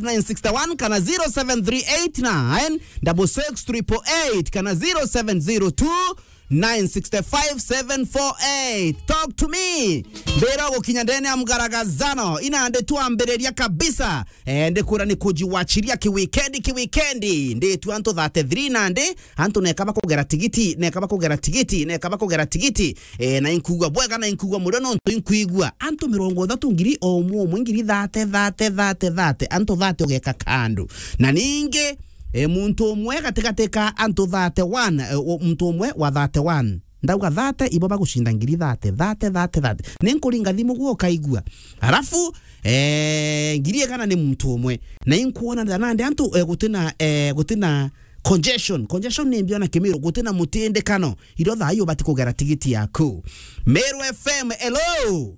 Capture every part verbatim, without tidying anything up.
nine six one kana zero seven three eight nine double six triple eight kana zero seven zero two nine six five seven four eight. Talk to me. Mbira gukinya ndene ya mgaragazano. Ina ndi tuambiriria kabisa. Eh, ndikura ni kujiwachiria kiwikendi, kiwikendi. Ndi tu antu thirty-three na ndi antu neka bakugera tigiti, neka bakugera tigiti, neka bakugera tigiti. Eh, na inkugua bwega, na inkugua murio nontu inkwigua. Antu mirongo ithatu ngiri o umwe umwe, ngiri thirty, thirty, thirty, thirty. Antu thirty ugeka kandu. Na ningi, eh, muntu umwe gatigati ka antu thirty-one, eh, u-, muntu umwe wa thirty-one. Ndauga thirty, ibo bagucinda ngiri thirty, thirty, thirty, thirty. Ninkuringa thimu gwe ukaigua. Alafu, eh, ngiri igana ni muntu umwe. Na inkuona nandi antu, eh, gutina, eh, gutina congestion. Congestion ni mbio na Kimiru, gutina mutindikano. Irio thaa hii ubati kugera tigiti yaku. Meru F M, hello.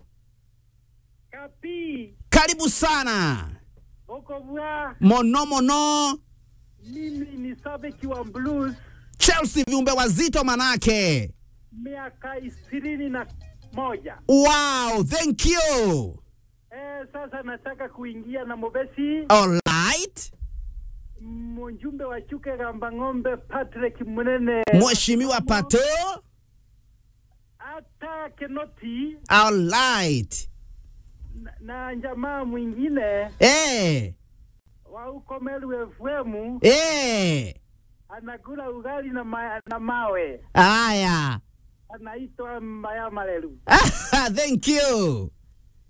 Kapi. Karibu sana. Uko bwa? Mono, mono. Mimi ni shabiki wa Blues. Chelsea, viumbe wazito manake. Miaka ishirini na moja. Wow, thank you. Eh, sasa nataka kuingia na mubesi. All right. Mjumbe wa Chuka Igamba Ng'ombe, Patrick Munene. Mheshimiwa Pato. Hata Kinoti. All right. Na, na jamaa mwingine. Eh. Wa huko Meru F M. Eh. Anakula ugali na ma-, na mawe. Aya. Anaitwa Mbaya Maleru. Thank you.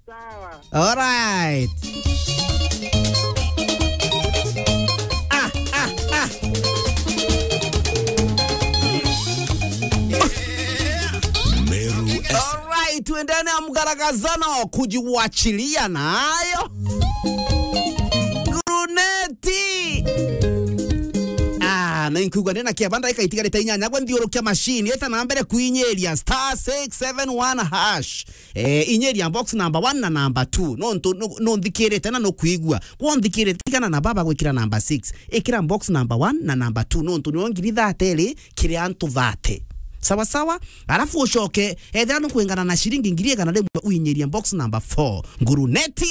Sawa. All right. Ah, ah, ah. Meru F M. All right, tuendane na mgaragazano kujiwachilia nayo. Guruneti. Ah, na inkuga ndina kia banda ikaitigarite inyanya gwe nthiurukia machine eta na mbere kuinyiria star six seven one hash. Eh, inyiria box number one na number two. No ntu-, no, no nthikirite na no kuigua. Kwa nthikirite tigana na baba gwikira number six. Ikira box number one na number two. No ntu nio ngiri thirty iri kiri antu thirty. Sawa sawa? Alafu ucoke, ethira no kwingana na ciringi ngiri igana rimwe uinyiria box number four. Guruneti.